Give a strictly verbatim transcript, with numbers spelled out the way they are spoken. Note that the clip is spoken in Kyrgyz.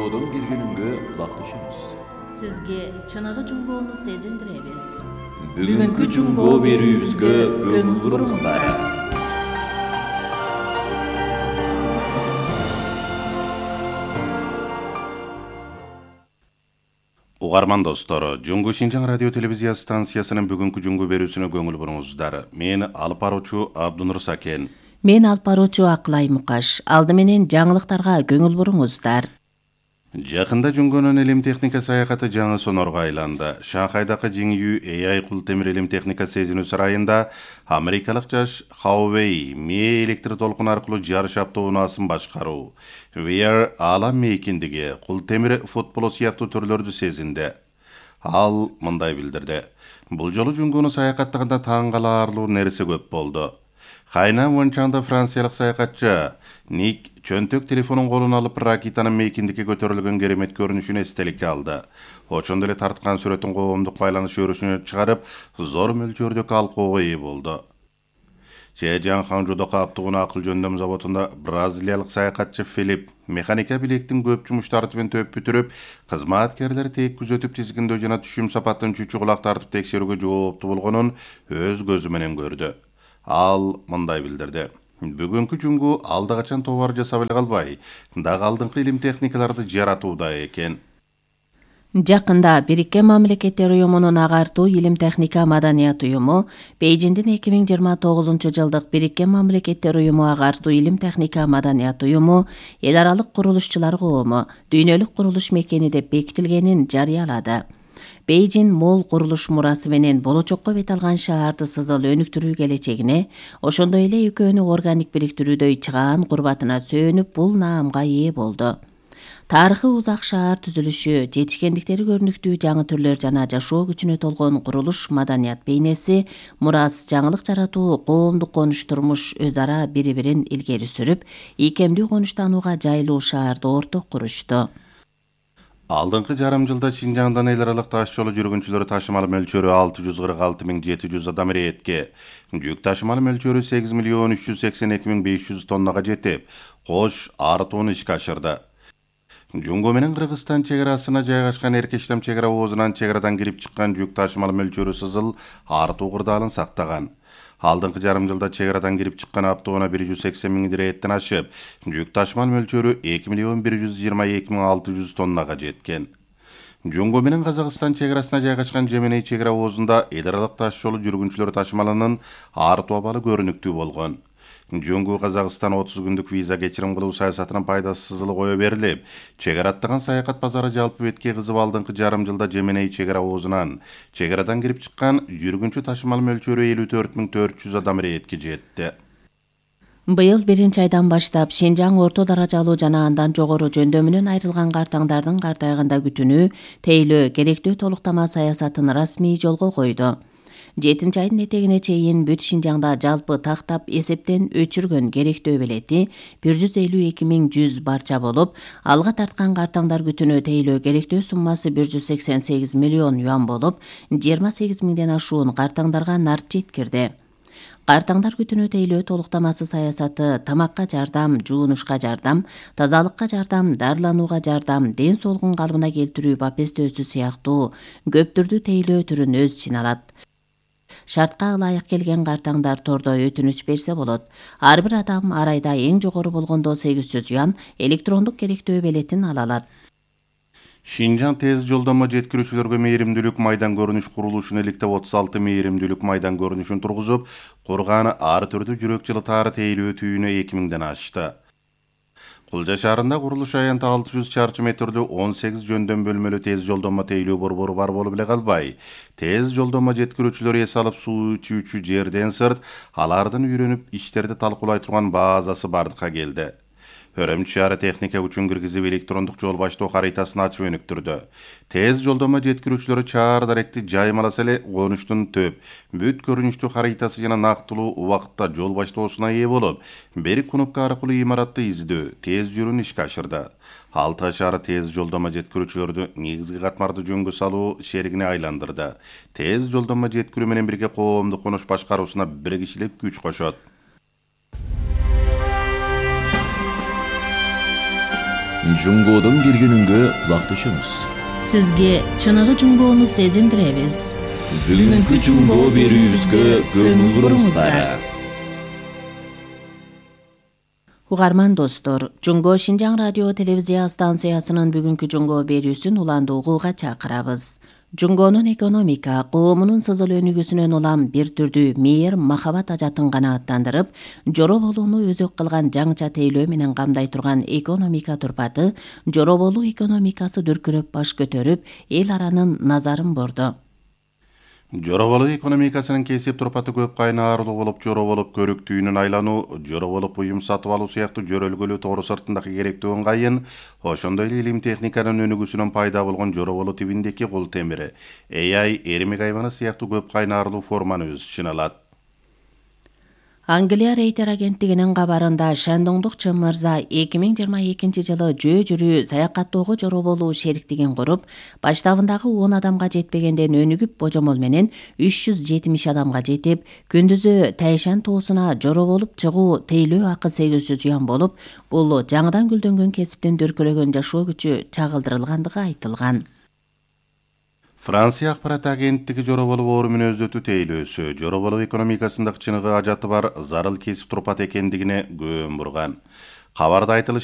жуңгоодон келгениңге улакташабыз. Сизге чыныгы жуңгоону сезиндиребиз. Бүгүнкү жуңгоо берүүбүзгө көңүл буруңуздар. Угарман достор, Жуңгу Шинжаң радио телевизия станциясынын бүгүнкү жуңгу берүүсүнө көңүл буруңуздар. Мен алып баруучу Абдунур Сакен. Мен алып баруучу Акылай Мукаш. Алды менен жаңылыктарга көңүл буруңуздар. Жакында Жуңгонун илим техника саякаты жаңы сонорго айланды. Шанхайдагы Жиңүү эй ай кул темир илим техника сезинүү сарайында америкалык жаш Хаувей мээ электр толкун аркылуу жарыш автоунаасын башкаруу, ви ар аалам мейкиндиги, кул темир футболу сыяктуу түрлөрдү сезинди. Ал мындай билдирди. Бул жолу Жуңгону саякаттаганда таң калаарлуу нерсе көп болду. Хайна Вончаңда франциялык саякатчы Ник чөнтөк телефонун колуна алып ракетанын мейкиндикке көтөрүлгөн керемет көрүнүшүн эстеликке алды. Ошондо эле тарткан сүрөтүн коомдук байланыш өрүшүнө чыгарып, зор мөлчөрдөгү алкоого ээ болду. Чэжан Ханжудагы автоунаа акыл жөндөм заводунда бразилиялык саякатчы Филип механика билектин көп жумуштарды менен төп бүтүрүп, кызматкерлер тек күзөтүп тизгиндөө жана түшүм сапатын чүчү кулак тартып текшерүүгө жооптуу болгонун өз көзү менен көрдү. Ал мындай билдирди. Бүгүнкү жуңгу алда качан товар жасап эле калбай, дагы алдыңкы илим техникаларды жаратууда экен. Жакында Бириккен Мамлекеттер Уюмунун агартуу илим техника маданият уюму Бейжиңдин эки миң жыйырма тогузунчу жылдык Бириккен Мамлекеттер Уюму агартуу илим техника маданият уюму эл аралык курулушчулар коому дүйнөлүк курулуш мекени деп бекитилгенин жарыялады. Бейжиң мол курулуш мурасы менен болочокко бет алган шаарды сызыл өнүктүрүү келечегине, ошондой эле экөөнү органик бириктирүүдөй чыгаан курбатына сөөнүп бул наамга ээ болду. Тарыхы узак шаар түзүлүшү, жетишкендиктери көрүнүктүү жаңы түрлөр жана жашоо күчүнө толгон курулуш маданият бейнеси, мурас, жаңылык жаратуу, коомдук конуш турмуш өз ара бири-бирин илгери сүрүп, ийкемдүү конуштанууга жайлуу шаарды орток курушту. Алдыңкы жарым жылда Шинжаңдан эл аралык таш жолу жүргүнчүлөр ташымал мөлчөрү алты жүз кырк алты миң жети жүз адам иретке, жүк ташымал мөлчөрү сегиз миллион үч жүз сексен эки миң беш жүз тоннага жетип, кош артууну ишке ашырды. Жуңго менен Кыргызстан чек арасына жайгашкан Эркештам чек ара оозунан чек арадан кирип чыккан жүк ташымал мөлчөрү сызыл артуу кырдаалын сактаган. Алдыңкы жарым жылда чек арадан кирип чыккан автоунаа бир жүз сексен миң ирээттен ашып, жүк ташымал мөлчөрү эки миллион бир жүз жыйырма эки миң алты жүз тоннага жеткен. Жуңго менен Казакстан чек арасына жайгашкан Жеменей чек ара оозунда эл аралык таш жолу жүргүнчүлөр ташымалынын артуу абалы көрүнүктүү болгон. Жуңгу Казакстан отуз күндүк виза кечирим кылуу саясатынын пайдасы сызылы кое берилип, чек ара аттаган саякат базары жалпы бетке кызып алдыңкы жарым жылда Жеменей чек ара оозунан чек арадан кирип чыккан жүргүнчү ташымал мөлчөрү элүү төрт миң төрт жүз адам иретке жетти. Быйыл биринчи айдан баштап Шинжаң орто даражалуу жана андан жогору жөндөмүнөн айрылган картаңдардын картайганда күтүнүү, тейлөө, керектүү толуктама саясатын расмий жолго койду. жетинчи айдын этегине чейин бүт Шинжаңда жалпы тактап эсептен өчүргөн керектөө белети бир жүз элүү эки миң жүз барча болуп, алга тарткан картаңдар күтүнүү тейлөө керектөө суммасы бир жүз сексен сегиз миллион юан болуп, жыйырма сегиз миңден ашуун картаңдарга нарт жеткирди. Картаңдар күтүнүү тейлөө толуктамасы саясаты тамакка жардам, жуунушка жардам, тазалыкка жардам, дарыланууга жардам, ден соолугун калыбына келтирүү бапестөөсү сыяктуу көп түрдүү тейлөө түрүн өз ичине алат. Шартка ылайык келген картаңдар тордо өтүнүч берсе болот. Ар бир адам ар айда эң жогору болгондо сегиз жүз юан электрондук керектөө белетин ала алат. Шинжаң тез жолдомо жеткирүүчүлөргө мээримдүүлүк майдан көрүнүш курулушун иликтеп отуз алты мээримдүүлүк майдан көрүнүшүн тургузуп, курганы ар түрдүү жүрөк жылытаары тейлөө түйүнө эки миңден ашты. Кулжа шаарында курулуш аянты алты жүз чарчы метрлүү он сегиз жөндөм бөлмөлүү тез жолдомо тейлөө борбору бар болуп эле калбай, тез жолдомо жеткирүүчүлөр эс алып суу ичүүчү жерден сырт алардын үйрөнүп иштерди талкуулай турган базасы бардыкка келди. Өрөмчү шаары техника күчүн киргизип электрондук жол баштоо харитасын ачып өнүктүрдү. Тез жолдомо жеткирүүчүлөрү чаар даректи жаймаласа эле конуштун төп, бүт көрүнүштүү харитасы жана нактылуу убакытта жол баштоосуна ээ болуп, бир кнопка аркылуу имаратты издөө, тез жүрүүнү ишке ашырды. Алтай шаары тез жолдомо жеткирүүчүлөрдү негизги катмарды жөнгө салуу шеригине айландырды. Тез жолдомо жеткирүү менен бирге коомдук конуш башкаруусуна бир кишилик күч кошот. Жунгодон келгенүнгө кулак түшөңүз. Сизге чыныгы жунгоону сезиндиребиз. Бүгүнкү жунгоо берүүбүзгө көңүл буруңуздар. Угарман достор, Жунгоо Шинжаң радио телевизия станциясынын бүгүнкү жунгоо берүүсүн уланды угууга чакырабыз. Жунгонун экономика, коомунун сызыл өнүгүүсүнөн улам бир түрдүү мээр, махабат ажатын канааттандырып, жоро болууну өзөк кылган жаңча тейлөө менен камдай турган экономика турпаты, жоро болуу экономикасы дүркүрөп баш көтөрүп, эл аранын назарын борду. Жоро болуу экономикасынын кесип турпаты көп кайнаарлуу болуп, жоро болуп көрүктүүнүн айлануу, жоро болуп уюм сатып алуу сыяктуу жөрөлгөлүү тоору сыртындагы керектүү ыңгайын, ошондой эле илим техниканын өнүгүүсүнөн пайда болгон жоро болуу тибиндеги кул темири, A I, эрмек айваны сыяктуу көп кайнаарлуу форманы өз ичине алат. Англия Рейтер агенттигинин кабарында Шандоңдук Чын мырза эки миң жыйырма экинчи жылы жөө жүрүү саякаттоого жоро болуу шериктигин куруп, баштабындагы он адамга жетпегенден өнүгүп божомол менен үч жүз жетимиш адамга жетип, күндүзү Тайшан тоосуна жоро болуп чыгуу тейлөө акы сегизсиз юан болуп, бул жаңыдан гүлдөнгөн кесиптин дүркүрөгөн жашоо күчү чагылдырылгандыгы айтылган. Франция акпарат агенттиги жоро болуу оору мүнөздөтүү тейлөөсү, жоро болуу экономикасындагы чыныгы ажаты бар зарыл кесип турпат экендигине көөн бурган. Кабарда айтылышат